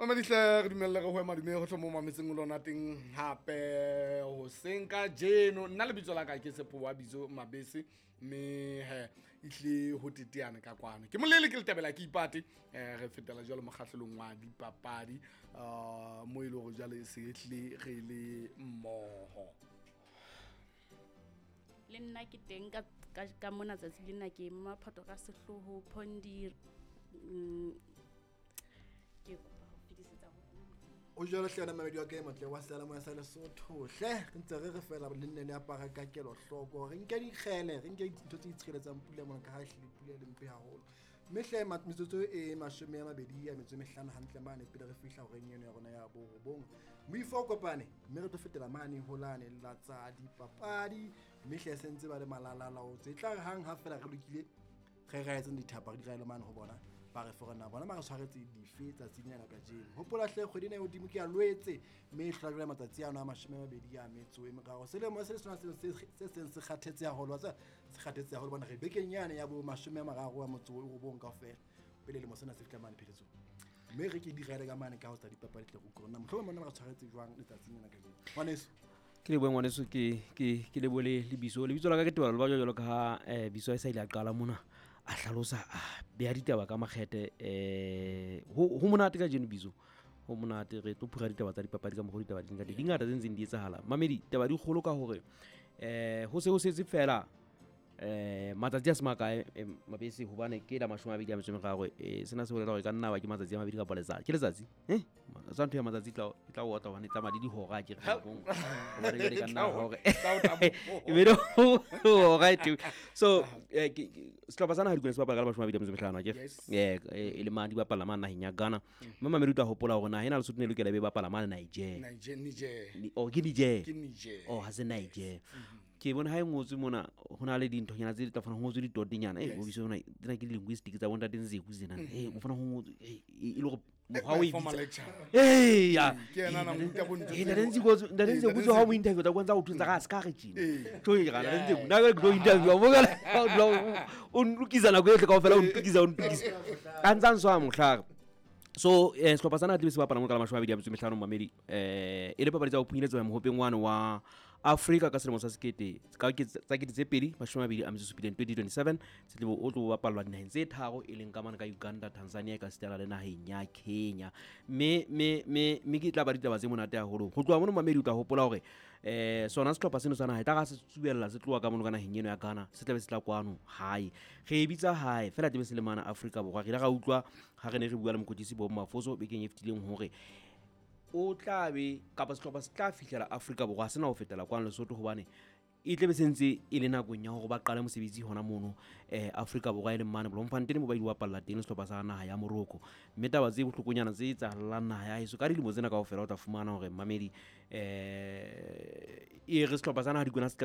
Mamedihle, re dumelle re hoe madume go tlho mo mametseng o lona teng hape hoseng ka jeno. Nna lebitso la ka ke Sepowa Bitso Mabese, mme he ehlile ho teteana ka kwano. Ke molele ke letabela ke ipate, re fetela jwalo mokgahlelong wa dipapadi, mo e le hore jwale se ehlile re le mmoho. Le nna ke teng ka mona tsatsi lena, ke Maphato ka sehloho Phondi. Ke kopa ho fetisetsa ho wena. O jwalo hle wena mamedi wa ka e motle wa seyalemoya sa Lesotho hle. Re ntse re re fela le nne le apara ka kelohloko, re nke dikgele, re nke dintho tse itshireletsang pula mona, ka ha ehlile pula e le mpe haholo. Mme hle metsotso e 25 hantle mane pele re fihla horeng eno ya rona ya 9, moifo o kopane, mme re tlo fetela mane ho lane la tsa dipapadi. Mme hle se ntse ba le malalalaotse, e tla re hang ha fela re lokile re raetseng dithapa re di raele mane ho bona, ba re fore na bona ba re tshwaretse dife tsatsing lena kajeno. Hopola hle kgwedi ena e hodimo ke ya Loetse, mme e hlola jwale matsatsi ano a 23. Selemo se le sona se seng se kgathetse haholo, wa tseba, se kgathetse haholo bona re bekeng yane ya bo 39 kaofela pele lemo sena se fihla mane pheletsong. Mme re ke di raele ka mane ka ho tsa dipapadi tle re utlwe hore na mohlomong bona ba re tshwaretse jwang letsatsing lena kajeno. Ngwaneso. Ke lebohe ngwaneso, ke lebohe le lebitso. Lebitso la ka ke Tebalo Leba jwalo ka ha Biso a sa ile a qala mona, a hlalosa, a beha ditaba ka makgethe. Ho monate kajeno Biso, ho monate. Re tlo phura ditaba tsa dipapadi ka mokgwa ditaba di leng ka teng. Di ngata tse ntseng di etsahala. Mamedi, taba di kgolo ka hore ho se ho setse fela matsatsi a se makae, Mabese, hobane ke la 23. Sena se bolela hore ka nna ba ke matsatsi a mabedi kapa letsatsi. Ke letsatsi? Sa ntho ya matsatsi e tla otla hobane e tsamaya le dihora, ke re nakong. Hobane jwale ka nna hore. E be le hora e teng. So, sehlopha sa naha Dikwena se bapala ka la 25, akere? Yes. E le mane di bapala mane naheng ya Ghana. Mme mamedi o tla hopola hore naha ena Lesotho ne e lokela e be bapala mane Niger. Niger, Niger. Oh, ke Niger. Ke Niger. Oh, ha se Niger. Ke bona ha e ngotswe mona, ho na le dinthonyana tse di tla fana ho ngotswe ditotenyana. Yes. O bitsa hona, tsena ke di-linguistic tsa bontate Nzeku tsena. O fana ho ngotswe, e le hore mokgwa o e Formal bitsa. lecture. Ya. Ke yena a nang ruta bo ntho Ntate tseo. Nzeku, ntate Nzeku, ha o mo interview, tla utlwa ntse a o thusa ka se ka re tjena. Tjo, ke gana, Ntate Nzeku, nna ke tlo interview, mo ka o dula o nlokisa nako yohle kaofela, o ntokisa, o ntokisa. A ntsa nswa mohlare. So, sehlopha sa naha tlebe se bapala mo ka la 25, mamedi. E le papadi tsa ho phunyeletsa mohopeng wane wa Afrika ka selemo sa sekete, ka tsa kete tse pedi, mashome a mabedi a metso e supileng, 2027. Se tlebe o tlo bapallwa dinaheng tse tharo, e leng ka mane ka Uganda, Tanzania, ka sitana le naheng ya Kenya. Mme ke tla ba ditaba tse monate haholo. Ho tloha mono, mamedi, o tla hopola hore, sona sehlopha seno sa naha e tla ra se tsubella, se tloha ka mono ka naheng eno ya Ghana, se tlabe se tla kwano hae. Re e bitsa hae, fela tlabe se le mane Afrika Borwa. Re ile ra utlwa ha re ne re bua le mokwetlisi Bob Mafoso bekeng e fetileng hore o tla be kapa sehlopha se tla fihlela Afrika Borwa, se na ho fetela kwano Lesotho, hobane e tlabe se ntse e le nakong ya hore ba qale mosebetsi hona mono, Afrika Borwa, e leng mane Bloemfontein mo ba ile ba bapalla teng sehlopha sa naha ya Morocco. Mme taba tse bohlokonyana tse etsahallang naha ya heso ka dilemo tsena kaofela, o tla fumana hore mamedi, e re sehlopha sa naha Dikwena se qeta